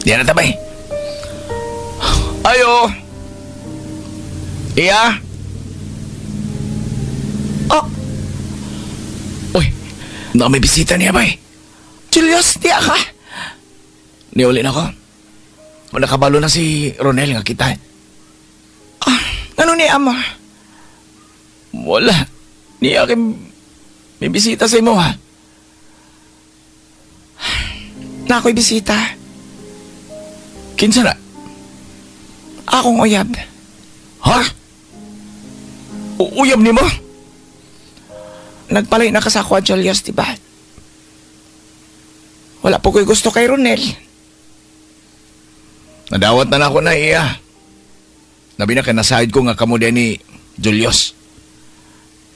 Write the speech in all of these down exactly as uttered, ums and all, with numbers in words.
Di na tabay. Ayo. Iya. Oh, Uy, na may bisita niya bay. Julius, di ka. Niuli na ko. Nakabalo na si Ronel nga kita. Ah, ano ni ama? Wala. Niya kay may bisita sa imo ha. Na ako'y bisita. Kinsa na? Akong uyab. Ha? U- uyab nimo? Nagpalay na ka sa ako, Julius, di ba? Wala po ko'y gusto kay Ronel. Nadawat na nako na iya. Labi na kay nasayod ko nga kamo ni Julius.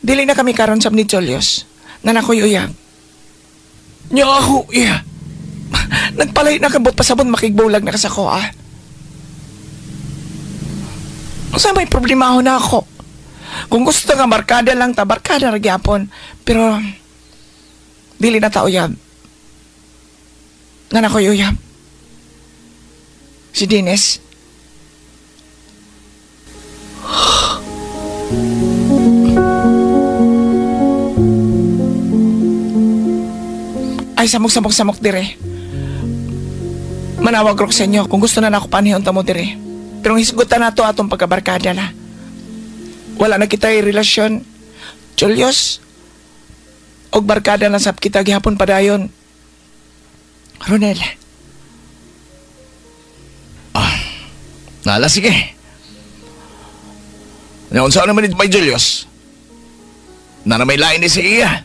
Dili na kami karon sab ni Julius. Na nako'y uyab. Nya ako iya. Nagpalay na kabot pasabon makigbulag na ka sa ko, ah. Unsa may problema na ako? Kung gusto nga barkada lang ta, barkada ra gyapon. Pero dili na ta uyab. Na nako'y uyab. Si Dennis. Ay, samok-samok-samok dire. Manawag rok sa inyo kung gusto na nako panihon ta mo dire. Pero ang hisgutan nato atong pagkabarkada na. Wala na kita relasyon. Julius, og barkada na sab kita gihapon padayon. Ronel, Nala sige. Nya unsa naman ni may Julius? Na na may lain ni si iya.